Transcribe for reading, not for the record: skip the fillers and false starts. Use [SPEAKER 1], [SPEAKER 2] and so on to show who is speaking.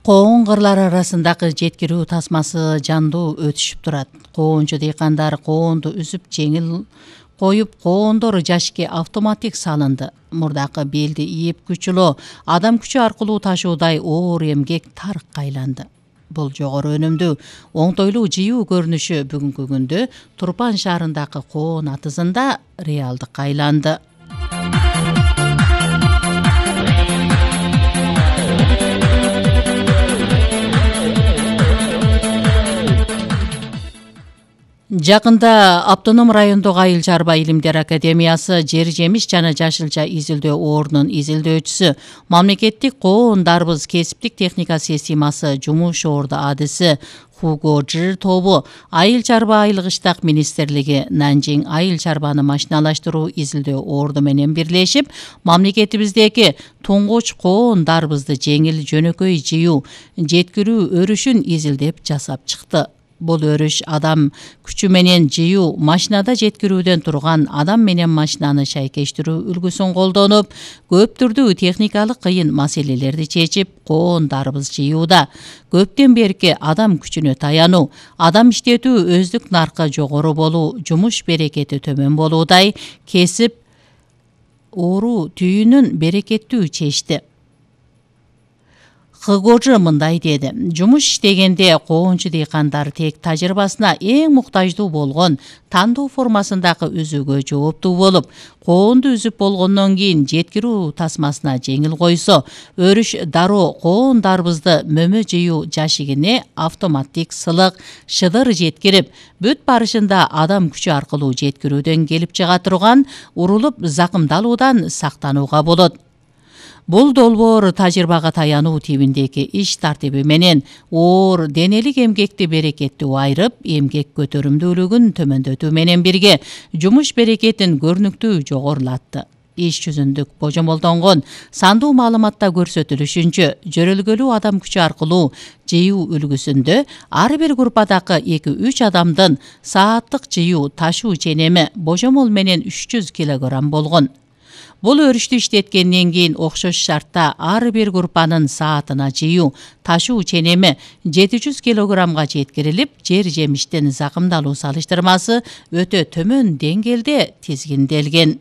[SPEAKER 1] Коон-кырлар арасындагы жеткирүү тасмасы жандуу өтүшүп турат. Коончу дыйкандар коонду үзүп жеңил коюп, коондор жашикке автоматик салынды. Мурдакы белди ийип күчүлөө, адам күчү аркылуу ташуудай оор эмгек тарыкка айланды. Бул жогору өнүмдүү, оңтойлуу жыюу көрүнүшү бүгүнкү күндө Турпан шаарындагы коон атызында реалдыкка айланды. Жакында Автоном райондогу Айыл чарба илимдер академиясы жер жемиш жана жашылча изилдөө ордунун изилдөөчүсү, мамлекеттик коон дарбыз кесиптик техника системасы жумуш орду адиси Хуго Жир тобу Айыл чарба айылгыштак министрлиги Нанжиң айыл чарбаны машиналаштыруу изилдөө орду менен бирлешип, мамлекетибиздеги туңгуч коон дарбызды жеңил жөнөкөй жыюу, жеткирүү өрүшүн изилдеп жасап чыкты. Бул өрүш адам күчү менен жыюу, машинада жеткирүүдөн турган адам менен машинаны шайкештирүү үлгүсүн колдонуп, көп түрдүү техникалык кыйын маселелерди чечип, коон дарбыз жыюуда көптөн берки адам күчүнө таянуу, адам иштетүү өздүк наркы жогору болуу, жумуш берекети төмөн болуудай кесип оору түйүнүн берекеттүү чечти. Хыгожы мындай деди: жумуш иштегенде коончу дыйкандар тек тажрыйбасына эң муктаждуу болгон тандоо формасындагы үзүүгө жооптуу болуп, коонду үзүп болгондон кийин жеткирүү тасмасына жеңил койсо, өрүш дароо коон дарбызды мөмө жыюу жашигине автоматтик сылык, шыдыр жеткирип, бүт барышында адам күчү аркылуу жеткирүүдөн келип чыга турган урулуп закымдалуудан сактанууга болот. Бул долбоор тажрыйбага таянуу тибиндеги иш тартиби менен оор денелик эмгекти берекеттүү айырып, эмгек көтөрүмдүүлүгүн төмөндөтүү менен бирге жумуш берекетин көрүнүктүү жогорулатты. Иш жүзүндүк божомолдонгон сандуу маалыматта көрсөтүлүшүнчө, жөрөлгөлүү адам күчү аркылуу жыюу үлгүсүндө ар бир группадагы 2-3 адамдын сааттык жыюу, ташуу ченеми божомол менен 300 кг болгон. Бул өрүштү иштеткенден кийин окшош шартта ар бир группанын саатына жыюу, ташуу ченеми 700 кг жеткирилип, жер жемиштин закымдалуу салыштырмасы өтө төмөн деңгээлде тизгинделген.